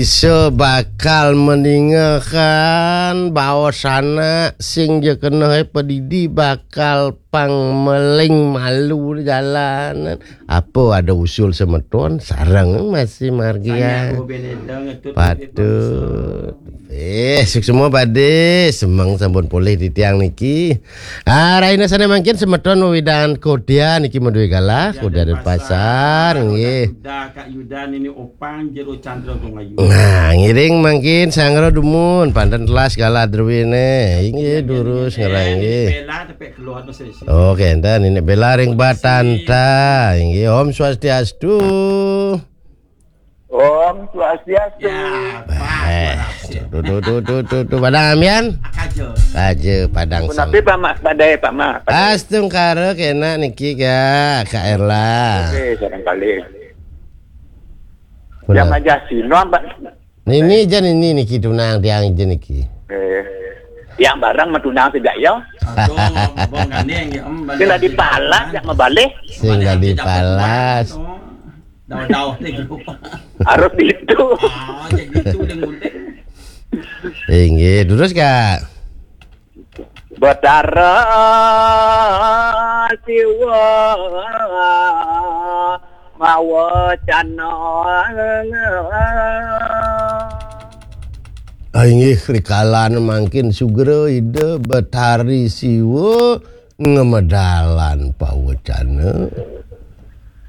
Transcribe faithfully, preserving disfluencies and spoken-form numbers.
Bisa bakal meningakan baosana sing ja keneh padidi bakal pang meling malu jalanan. Apa ada usul semeton sareng masih margian. Patut. Eh, suksma pade, semeng sampun polih titiang niki. Ah, rahina sane mangkin semeton wewidangan Kodia niki madué galah, Kodia Denpasar, nggih. Yuda, Kak Yuda, Nini Opang, Jero Chandra, Gung Ayu. Nah, ngiring mangkin sanggra dumun, panten telas galah druwine. Inggih, durus ngeranggih. Bella tepek keluar no sesi. Oke, enten ini Bella ring Batanta. Inggih, Om Swastiastu. Om Swastiastu. Ya, Pak. Eh, Swastiastu. Tuh, tuh, tuh, tuh, tuh, tuh. Padang Amyan? Kaja. Kaja, Padang Punapi, Sam. Pak Mak, badai, Pak Mak. Astungkara kena niki, Kak, Kak Erla. Oke, sareng kalih. Punapi. Yang aja sino, Pak. Nini jan nini niki tunang tiang jan niki. Eh. Yang barang matunang sejak ya. Aduh, abang gandeng ya, Om. Sing dadi pala, jak mabalih. Sing dadi palas. Dawa-dawa nih, grup. Harus gitu. Ah, jadi itu yang penting. Inggih, terus, Kak. Betara Siwa mawacana. Ah, inggih, rikalan mangkin sugra Ida Betari Siwa ngamedalan pawacana.